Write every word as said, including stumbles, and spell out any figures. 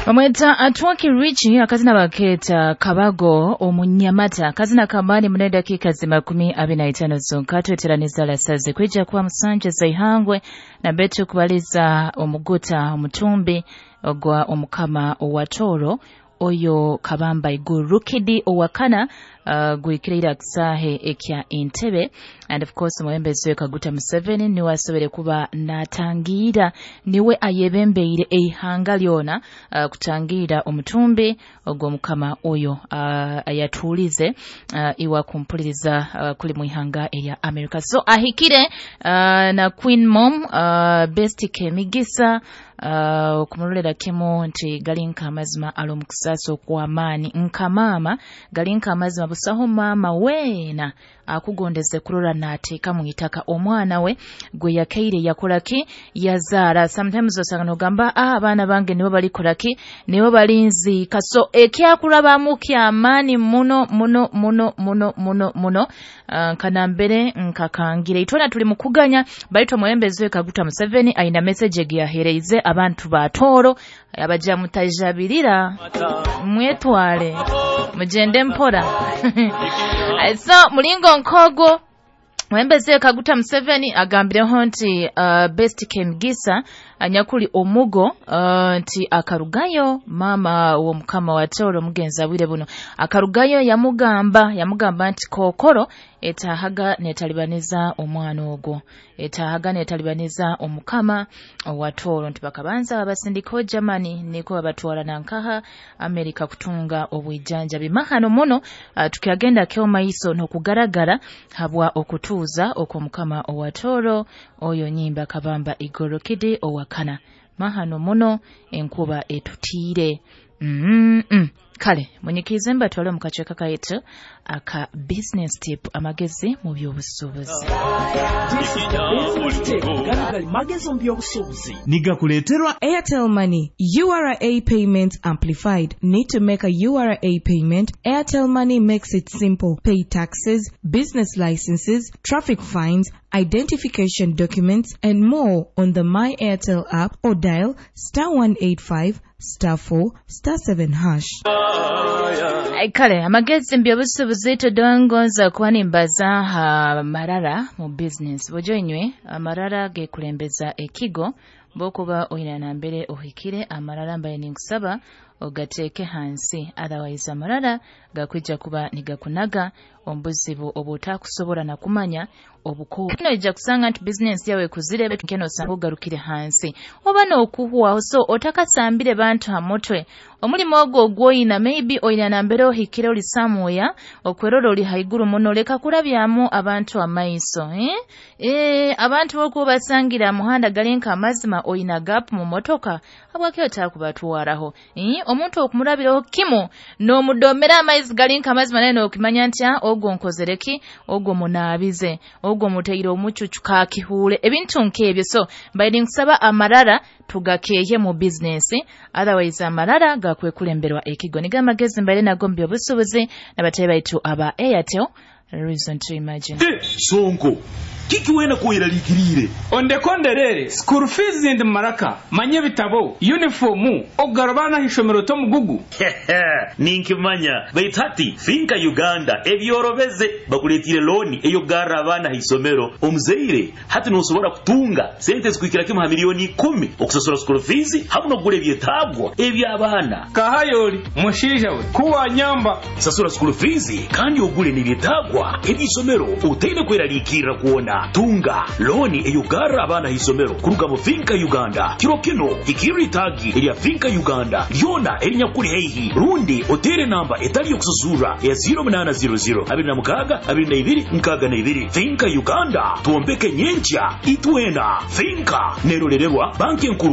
Bamweta Atwaki Richi, akazina baketa Kabago omunyamata, akazina kamani mune dakika zimakumi abiri na itano zonka tweteraniza lasaze kwija kuba musanje zaihangwe na betu kubaliza omuguta omutumbi ogwa omukama owatoro oyo Kabamba Igurukidi owakana uh, gwikirira kisahe ekya Entebbe. And of course omwebembezi we Kaguta Museveni niwe asobere kuba natangira, niwe ayebembeire eihanga lyona uh, kutangira omutumbi ogwo mukama oyo uh, ayatuulize uh, iwa kumpuliriza uh, kuli muihanga erya America. So ahikire uh, na Queen Mom uh, Best Kemigisa uh, okumulolera kimu nti gali nka amazima ali omukusaasa okw'amaani nka maama, gali nka amazima busaho maama weena akugondeze kurora n'ateeka mu itaka omwana we gwe yakaire yakolaki yazaara. Sometimes osanga nogamba ah, abaana bange nibo balikolaki nibo balinziika. So ekyakurabamu kyamaani muno muno muno muno muno muno uh, nkanambere nkakangire itwena tuli mukuganya baitu omwebembezi we Kaguta Museveni aina message egiyahereize abantu ba Tooro abaja mutajabirira mwetwale mugende mpora. So mulingo nkogo mwembeze Kaguta Museveni agambireho nti uh, Best Kemigisa anyakuli omugo uh, nti akarugayo mama wo mukama wa Tooro mugenzi abwire buno akarugayo yamugamba yamugamba nti kokoro etahaga netalibaniza omwana ogwo, etahaga netalibaniza omukama wa Tooro, nti bakabanza babasindika Germany niko babatwara nankaha Amerika kutunga obwijanjabi mahano muno. Uh, tukyagenda kyo maiso nokugaragara habwa okutuuza okw'omukama owa Tooro oyo nyimba Kabamba Igorokidi owakana mahano muno enkuba etutiire. mm -mm. Kale munyikize mbatwale mu kacweka kaitu aka business tip, amagezi mu by'obusuubuzi. This is the business tip. Gano gali magezi mu by'obusuubuzi. Nigakuleeterwa Airtel Money U R A Payment Amplified. Need to make a U R A payment? Airtel Money makes it simple. Pay taxes, business licenses, traffic fines, identification documents, and more on the My Airtel app or dial star one eight five star four star seven hash. Ai, kale amagezi mu by'obusuubuzi tudongoza kuba nimbaza ha marara mu business. Bujo inywe amarara gekulembeza ekigo bokuba oina nambere ohikire amarara mbaye ninkusaba ogateeke hansi, otherwise amarara gakwija kuba nigakunaga omubuzibu obutakusobola na kumanya obuko ija kusanga nti business yawe kuzire keno osanga ogarukire hansi oba n'okuhwaho. So otakasambire bantu ha mutwe omulimu ogwo ogwoyina, maybe oyina nambere ohikire oli samuya okwerora oli haiguru muno, leka kurabyamu abantu amaiso, eh? E, abantu bokuba basangira muhanda gali nka amazima oyina gap mu motoka habwaki otakubatwaraho, eh? Omuntu okumurabiraho kimu n'omudomera amaizi gali nka amazima naye n'okimanya nti ah, ogwo nkozereki, ogwo munaabize, ogwo muteire omucucu kakihuule ebintu nk'ebyo. So mbaire nkusaba amarara tugakeehe mu bizinesi, otherwise amarara gakwekulemberwa ekigo. Niga amagezi mbaire nago mu by'obusuubuzi n'abatayi baitu aba Airtel, reason to imagine. Sonko kiki wena kweraliikiriire? Ondekonderere school fees ndi maraka manye ebitabo uniform okugarura abaana ah'ishomero tomugugu. Ninkimanya, baitu hati Finka Uganda ebyorobeze bakuleetire looni ey'okugarra abaana ha isomero. Omuzaire hati nosobora kutunga sente zikuhikira kimu ha miliyoni ikumi okusasura school fees hamu n'okugura ebyetaagwa eby'abaana. Kahayoli mushaija we kuwanyamba. Sasura school fees kandi ogule n'ebyetaagwa eby'isomero otaine kweraliikirra kwona. Tunga looni ey'okugarra abaana ha isomero kuruga mu Finka Uganda. Kiro kino hikirra itaagi erya Finka Uganda lyona erinyakuli haihi rundi otere namba etali yokusasurra ya zero munaana zero zero abiri na mukaaga abiri na ibiri nkaaga na ibiri. Finka Uganda, twombeke nyenkya itwena. Finka nerolererwa banki enkuru.